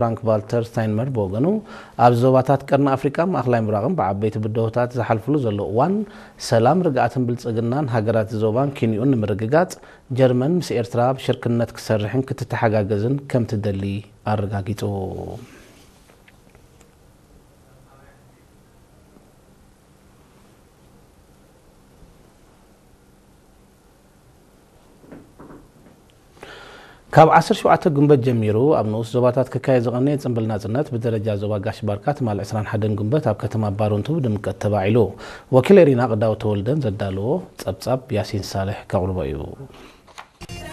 ፍራንክ ቫልተር ስታይንመር ብወገኑ፣ ኣብ ዞባታት ቀርኒ ኣፍሪቃን ማእኸላይ ምብራቕን ብዓበይቲ ብድሆታት ዝሓልፍሉ ዘሎ እዋን፣ ሰላም፣ ርግኣትን ብልጽግናን ሃገራት ዞባን ኪንኡን ንምርግጋጽ፣ ጀርመን ምስ ኤርትራ ብሽርክነት ክትሰርሕን ክትተሓጋገዝን ከም ትደሊ ኣረጋጊጹ። ካብ ዓሰርተ ሸውዓተ ግንቦት ጀሚሩ ኣብ ንኡስ ዞባታት ክካየድ ዝቐነየ ጽምብል ናጽነት ብደረጃ ዞባ ጋሽ ባርካ ትማል ዕስራን ሓደን ግንቦት ኣብ ከተማ ባሮንቱ ብድምቀት ተባዒሉ። ወኪል ኤሪና ቅዳው ተወልደን ዘዳለዎ ጸብጻብ ያሲን ሳልሕ ከቕርቦ እዩ።